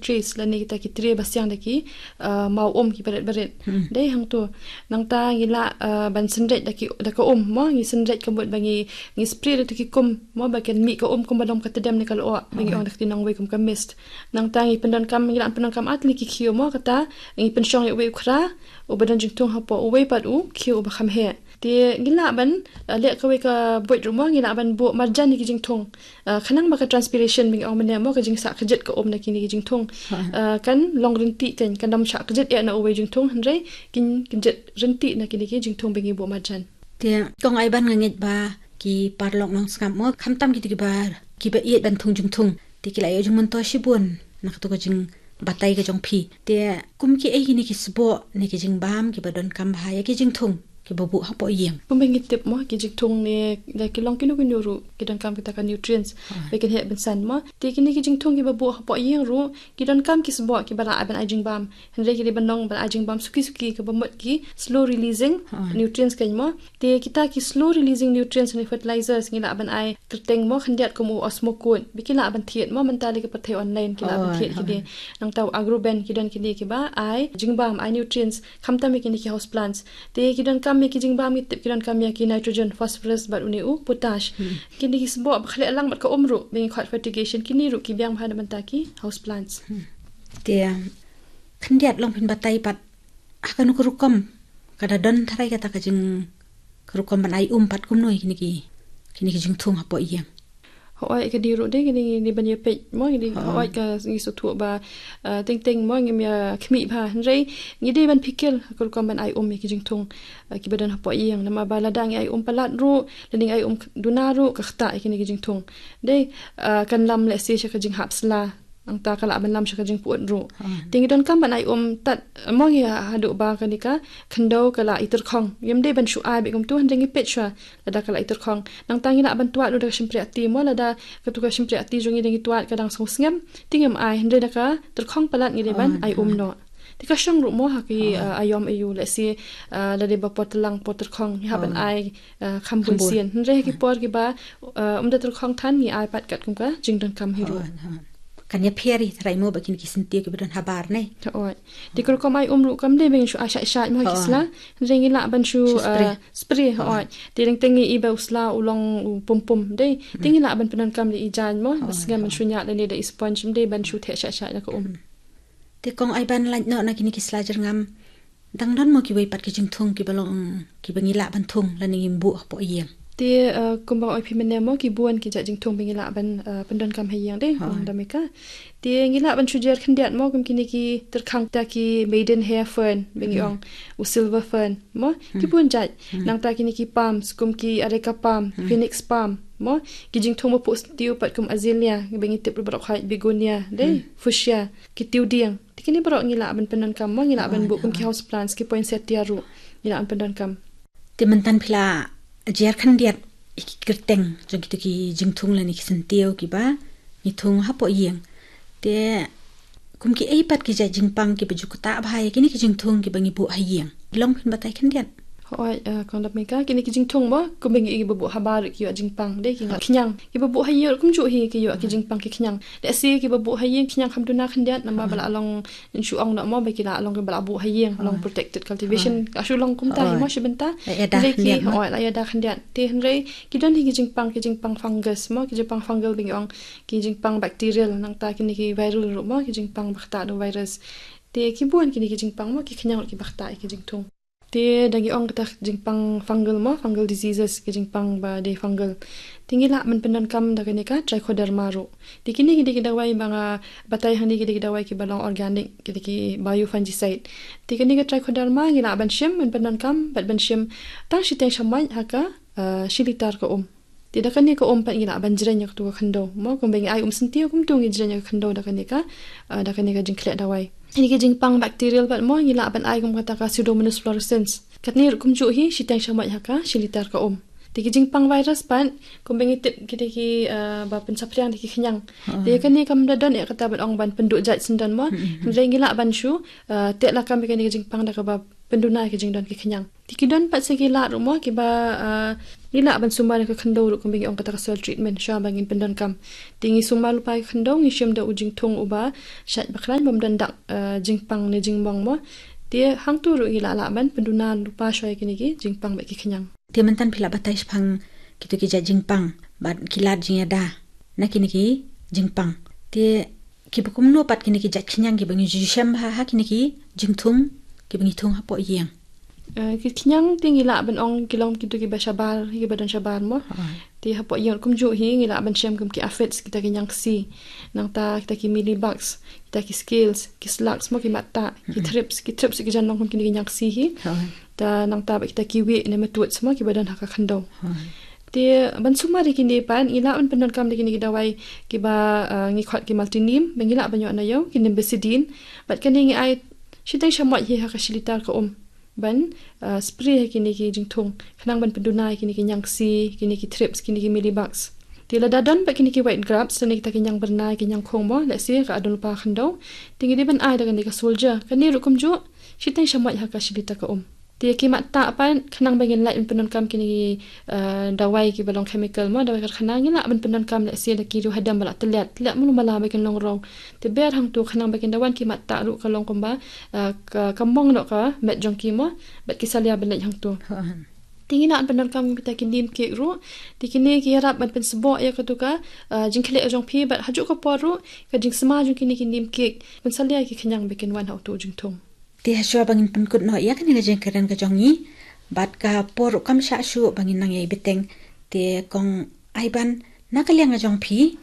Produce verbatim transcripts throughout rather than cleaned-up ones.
trace lane kita ki trai ba siang da ki uh, maw um ki barit barit. Dei hangto. Nangta ngi lah uh, ban synreit da ki da ka um mo, ngi synreit ka mut ba ngi ngi spray da ki kum mo ba kan mih ka um kum ba long ka tedem ne ka lyoh ba ngi ong da ka kti nongwei kum ka mist. Nangta ngi pyndonkam, ngi lah pyndonkam ar tylli ki khiew mo, kata ngi pynshong ïa uwei u khra uba don jingthung hapoh uwei pat u khiew uba kham heh. Te ngi lah ban uh, leh kawei ka buit ruh mo, ngi lah ban buh marjan ïa ki jingthung. Uh, khnang ba ka transpiration ba ngi ong mynne mo, ka jingsah kjit ka um na kine ki jingthung. Uh, kan long ryntih, kan kan dam shah kjit eh na uwei jingthung, hynrei kin kjit ryntih na kine ki jingthung ba ngi buh marjan. Te kong Aiban, nga ngeit ba ki paralok nongsngap mo, khamtam kito kiba kiba ïeit ban thung jingthung, te ki la ïoh jingmyntoi shibun na kato ka jingbatai ka jong phi. Te kum kiei kine ki sboh ne ki jingbam kiba donkam bha ïa ki jingthung kiba buh hapoh ïing? Kumba ngi tip mo, ki jingthung ne da ki long kino kino ruh ki donkam kita ka nutrients ba kin heh ban san mo. Te kine ki jingthung kiba buh hapoh ïing ruh ki donkam ki sboh kiba lah ban ai jingbam. Hynrei ki dei ban long ban ai jingbam suki suki, kaba mut ki slow releasing nutrients kan mo. Te kita ki slow releasing nutrients ne fertilizers ngi lah ban ai kyrteng mo khyndiat kum u Osmocote. Ba ki lah ban thied mo, mynta lei ka pyrthei online ki lah ban thied ki dei. Nangta u Agroben, ki don kine kiba ai jingbam, ai nutrients khamtam ïa kine ki house plants. Te ki donkam ïa ki jingbam, ngi tip ki donkam ïa ki nitrogen, phosphorus bad une u potash. Kine ki sboh ba khleh lang bad ka um ruh ba ngi khot fertigation, kine ruh ki biang bha na bynta ki house plants. Te khyndiat long phin batai pat ha kano ka rukom, ka da don tharai kata ka jing ka rukom ban ai um pat kumno ïa kine ki kine ki jingthung hapoh ïing? Hooid, ka dei ruh de, ka dei ngi dei ban ïa peit mo, ngi dei hooid ka ngi sngewthuh ba uh, teng teng mo ngim ïa khmih bha, hynrei ngi dei ban pyrkhat ha ka rukom ban ai um ïa ki jingthung uh, kiba don hapoh ïing. Namar ba lada ngi ai um palat ruh lane ngi ai um duna ruh, ka ktah ïa kine ki jingthung. Dei uh, kan lam lehse sha ka jinghap sla, nangta ka lah ban lam sha ka jingpyut ruh. Te ngi donkam ban ai um tad mo, ngi haduh ba kane ka khyndew ka la ityrkhong. Ngim dei ban shu ai beit kumto, hynrei ngi peit shuwa lada ka la ityrkhong. Nangta ngi lah ban twad ruh da ka shympriahti mo, lada kato ka shympriahti jong ngi da ngi twad ka dang sngewsngem, te ngim ai, hynrei da ka tyrkhong palat ngi dei ban ai um noh. Te ka shong ruh mo ha ki uh, aiom aiu, lehse uh, lada ba por tlang por tyrkhong ngi hap ban ai uh, kham bunsien. Hynrei ha ki por kiba uh, um da tyrkhong than ngi ai pat katkum ka jingdonkam hi ruh. Kan ïa pher hi tharai mo ba kine ki syntiew kiba don habar ne. Hooid. Te ka rukom ai um ruh kam dei ba ngin shu ai shait shait mo ha ki sla. Hynrei ngi lah ban shu uh, spray. Hooid. Te teng teng ngi i ba u sla u long u pum pum dei. Te ngi lah ban pyndonkam da i jaiñ mo, ba sngem ban shu ñiah lane da i sponge, ym dei ban shu theh shait shait na ka um. Te kong Aiban, lait noh na kine ki sla jyrngam, dang don mo kiwei pat ki jingthung kiba long kiba ngi lah ban thung lane ngim buh hapoh ïing? Te uh, kumba ong ïa phi mynne mo, ki bun ki jait jingthung ba ngi lah ban uh, pyndonkam ha ïing de, kong Damika. Te ngi lah ban shu jer khyndiat mo, kum kine ki tyrkhang ta ki maiden hair fern ba ngi ong, u silver fern mo, ki bun jait. Nangta kine ki palms kum ki areca palm, phoenix palm mo, ki jingthung ba phuh syntiew pat kum azalea, ba ngi tip ruh baroh khait, begonia de, fuchsia, ki tiwdiang. Te kine baroh ngi lah ban pyndonkam mo, ngi lah ban buh kum ki house plants, ki poinsettia ruh ngi lah ban pyndonkam. Te mynta phi la jer khyndiat ïa ki kyrteng jong kito ki jingthung lane ki syntiew kiba ngi thung hapoh ïing. Te kum kiei pat ki jait jingpang kiba ju ktah bha ïa kine ki jingthung kiba ngi buh ha ïing? Long phin batai khyndiat. Hooid, uh, kong Damika, kine ki jingthung mo, kumba ngi ïohi ba buh habar ki ïoh jingpang de, ki ngat khñiang. Kiba buh ha ïing kumjuh hi ki ïoh ki jingpang ki khñiang. Lehse kiba buh ha ïing khñiang kham duna khyndiat, namar ba la long, ngan shu ong noh mo, ba ki la long kiba la buh ha ïing, long protected cultivation. Ka shu long kumta hi mo shi bynta. Hynrei ki, hooid, la ïada khyndiat. Te hynrei ki don hi ki jingpang, ki jingpang fungus mo, ki jingpang fungal ba ngi ong, ki jingpang bacterial, nangta kine ki viral ruh mo, ki jingpang ba ktah da u virus. Te ki bun kine ki jingpang mo, ki khñiang ruh kiba ktah ïa ki jingthung. Te da ngi ong kata ka jingpang fungal mo, fungal diseases, ka jingpang ba dei fungal, te ngi lah ban pyndonkam da kane ka trichoderma ruh. Te kine ki dei ki dawai ba nga batai hangne, ki dei ki dawai kiba long organic, ki dei ki biofungicide. Te kane ka trichoderma ngi lah ban shim ban pyndonkam bad ban shim tang shiteng shamoit ha ka uh, shi litar ka um. Te da kane ka um pat ngi lah ban jreng ïa kato ka khyndew mo, kumba ngi ai um syntiew kumto ngi jreng ïa ka khyndew da kane ka uh, da kane ka jingkhleh dawai. Kine ki jingpang bacterial pat mo, ngi lah ban ai kum kata ka Pseudomonas fluorescens. Katne ruh kumjuh hi, shiteng shamoit ha ka shi litar ka um. Te ki jingpang virus pat, kumba ngi tip ki dei ki uh, ba pynsaphriang da ki khñiang. Te kane kam da don eh kata ban ong ban pynduh jait syndon mo. Hynrei ngi lah ban shu uh, teh lakam ïa kane ka jingpang da kaba pynduna ïa ka jingdon ki khñiang. Te ki don pat sa ki lad ruh mo kiba, ah, ngi lah ban sumar ïa ka khyndew ruh kumba ngi ong kata ka soil treatment shuwa ba ngin pyndonkam. Te ngi sumar lypa ïa ka khyndew, ngi shim da u jingthung uba shait ba khlaiñ bym don dak, ah, jingpang ne jingmong mo. Te hangto ruh ngi lah lah ban pynduna lypa shuwa ïa kine ki jingpang bad ki khñiang. Te mynta phi lah batai shaphang kito ki jait jingpang bad ki lad jingïada na kine ki jingpang. Te kiba kumno pat kine ki jait khñiang kiba ngi ju shem bha ha kine ki jingthung kiba ngi thung hapoh ïing. Eh, ki khñiang te ngi lah ban ong ki long kito kiba shabar, kiba don shabar mo. Ah. Te hapoh ïing kumjuh hi ngi lah ban shem kum ki aphids, kita ki ñiangksi. Nangta kita ki mealybugs, kita ki scales, ki slugs mo, ki mattah, ki thrips, ki thrips ki jan long kum kine ki ñiangksi hi. Ah. Te nangta bad kita ki wieh ne matuid mo kiba don ha ka khyndew. Ah. Te ban sumar ïa kine pat ngi lah ban pyndonkam da kine ki dawai kiba, ah, ngi khot ki multi neem, ba ngi lah ban ïoh na ïew, ki nimbecidine. Bad kane ngi ai shiteng shamoit hi ha ka shi litar ka um ban, ah, spray ha kine ki jingthung khnang ban pynduna ïa kine ki ñiangksi, kine ki thrips, kine ki mealybugs. Te lada don pat kine ki white grubs lane kita ki ñiangbyrnai, ki ñiangkhung mo, lehse ka adon lypa khyndew, te ngi dei ban ai da kane ka Soldier. Kane ruh kumjuh shiteng shamoit ha ka shi litar ka um. Te ki mattah pat khnang ba ngin lah ban pyndonkam kine ki, ah, dawai kiba long chemical mo, dawai karkhana, ngi lah ban pyndonkam lehse da ki riew hadem ba la tylliat, tylliat mulu mala ba kin long rong. Te ber hangto khnang ba kin da wan ki mattah ruh ka long kumba, ah, ka, ka mong noh ka met jong ki mo, bad ki salia ban leit hangto. Ha. Te ngi lah ban pyndonkam kita ki neem cake ruh. Te kine ki ïarap ban pynsboh ïa kato ka, ah, jingkhleh jong phi bad hajuh ka por ruh ka jingsma jong kine ki neem cake pynsalia ïa ki khñiang ba kin wan ha uto u jingthung. Te hashwa ba ngin pynkut noh ïa kane ka jingkren ka jong ngi bad ka por ruh kam shah shuh ba ngin nang ïai bteng. Te Kong Aiban, na ka liang ka jong phi,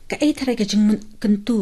kaei tharai ka jingmyn-, kyntu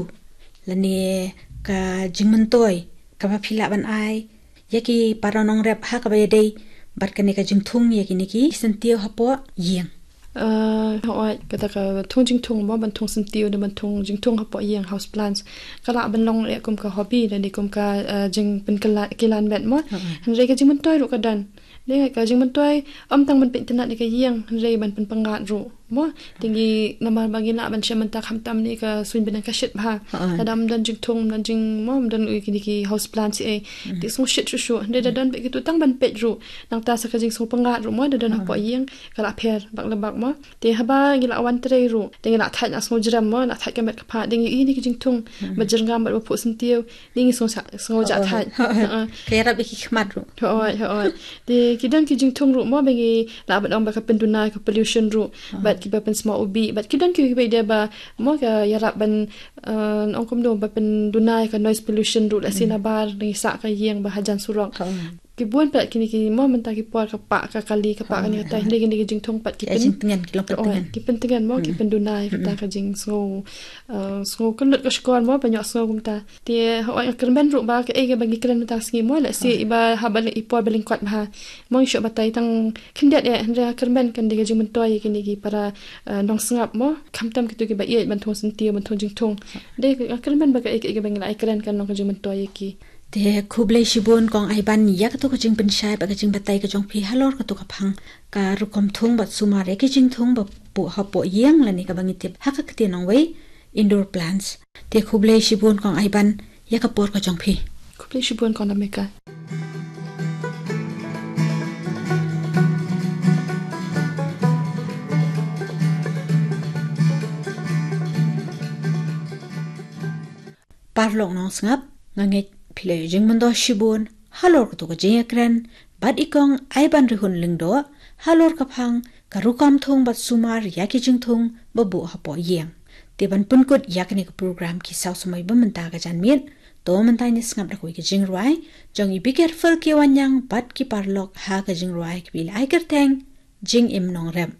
lane ka jingmyntoi kaba phi lah ban ai ïa ki para nongrep ha kaba ïadei bad kane ka jingthung ïa kine ki syntiew hapoh ïing? Ah, hooid, kata ka thung jingthung mo, ban thung syntiew ne ban thung jingthung hapoh ïing, house plants, ka lah ban long ïa kum ka hobby lane kum ka, ah, jingpynkylla-, kilan met mo. Ha. Hynrei ka jingmyntoi ruh ka don. Dei ka jingmyntoi ym tang ban peit tynnat ïa ka ïing, hynrei ban pynpyngngad ruh mo. Te ngi namar ba ngi lah ban shem mynta khamtam ne ka suiñ bneng ka shit bha. Ha. Lada ym don jingthung, ym don jing mo, ym don ïa kine ki house plants ei. Hmm. Te sngew shit shuh shuh. Hynrei da don bad kito tang ban peit ruh, nangta sa ka jingsngewpyngngad ruh mo, da don hapoh ïing ka la pher bak la bak mo. Te haba ngi la wan trei ruh, te ngi la thait, la sngew jrem mo, la thait ka met ka phad, te ngi ïohi ïa ki jingthung ba jyrngam bad ba phuh syntiew, te ngi sngew sa-, sngew jah thait. Hooid. Ka ïarap ïa ki khmat ruh. Hooid, hooid. Te ki don ki jingthung ruh mo ba ngi lah ban ong ba ka pynduna ïa ka pollution ruh, bad kiba pynsma u bih, bad ki don kiba ïadei ba mo ka ïarap ban, eh, ong kumno, ba pynduna ïa ka noise pollution ruh, lehse nabar ngi sah ka ïing ba hajan surok. Hooid. Ki bun pat kine ki mo mynta ki por ka pah ka kali, ka pah kane ka tai, hynrei kine ki jingthung pat ki pyn-, jingtngen, ki long pyn-, tngen, ki pyntngen mo, ki pynduna ïa kata ka jingsngew, eh, sngew kynlut ka shkor mo, ba ñiuh sngew kumta. Te hooid, nga kyrmen ruh ba kaei kaba ngi kren mynta ka sngi mo, lehse iba haba i por ba lyngkot bha mo ngi shu batai tang khyndiat eh, hynrei nga kyrmen kan dei ka jingmyntoi ïa kine ki para, eh, nongsngap mo, khamtam kito kiba ïeit ban thung syntiew, ban thung jingthung. Dei nga kyrmen ba kaei kaei kaba ngi la ïakren kan long ka jingmyntoi ïa ki. Te khublei shibun Kong Aiban ïa kato ka jingpynshai bad ka jingbatai ka jong phi halor kato ka phang ka rukom thung bad sumar ïa ki jingthung ba buh hapoh ïing lane kaba ngi tip ha ka ktien nongwei indoor plants. Te khublei shibun Kong Aiban ïa ka por ka jong phi. Khublei shibun Kong Nameka. Paralok nongsngap, nga ngeit phi la ïoh jingmyntoi shibun halor kato ka jingïakren bad i Kong Aiban Rihun Lyngdoh halor ka phang ka rukom thung bad sumar ïa ki jingthung ba buh hapoh ïing. Te ban pynkut ïa kane ka program ki saw samoi ba mynta ka janmiet, to mynta ngin sngap da kawei ka jingrwai jong i Biker Phil Kiwanyang bad ki paralok ha ka jingrwai kaba la ai kyrteng Jingim Nongrep.